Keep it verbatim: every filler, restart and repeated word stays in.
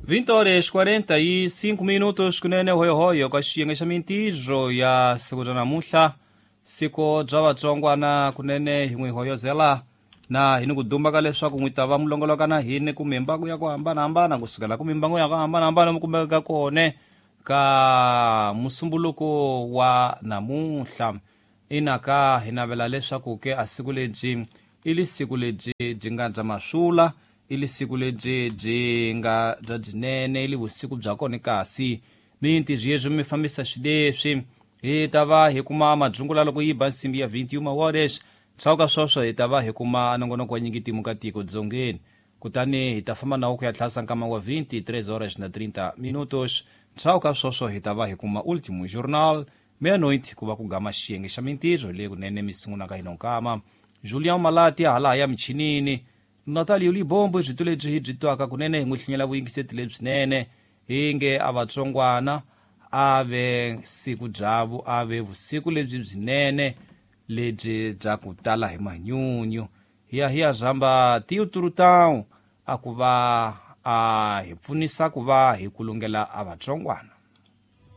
vinte horas quarenta e cinco minutos kunene hoyohoyo ka xiyenge xa mintirho ya siku ra namuntlha, siku bya vatsongwana kunene hi n'wi hoyozela na hi ni ku dumba ka leswaku n'wi ta va mulongoloka na hini ku mimbangu ya ku hambanahambana kusukela ku mimbangu ya ku hambanahambana mi kumeka kone ka musumbuluko wa namuntlha. Ina ka hi navela leswaku ke a siku lebyi i li siku lebyi byi nga bya maswula, i li siku lebyi byi nga bya byinene, i li vusiku bya kona kasi mintirho yeswi mi fambisa xileswi hi ta va hi kuma madzungula loko yi ba nsimbi ya vinte uma horas. Ndzhaku sweswo hi ta va hi kuma nongonoko wa nyingi timu ka tiko dzongeni, kutani hi ta famba nawo ku ya tlhasa nkama wa vinte e três horas na trinta minutos. Ndzhaku ka sweswo hi ta va hi kuma Ultimo Jornal meia-noite, ku va ku gama xiyenge xa mintirho leyi kunene mi sungulaka hi nonkama. Julian Malati hala ya michinini, Natalio Libombo byi lebyi hi byi twaka kunene hi n'wi hlinyela vuyingiseti lebyinene hi nge a vatsongwana a ve siku byavu a ve vusiku lebyi byinene lebyi bya ku tala hi manyunyu. Hi ya hi ya zamba Tio Turutão a ku va a hi pfunisa ku va hi kulungela a vatsongwana.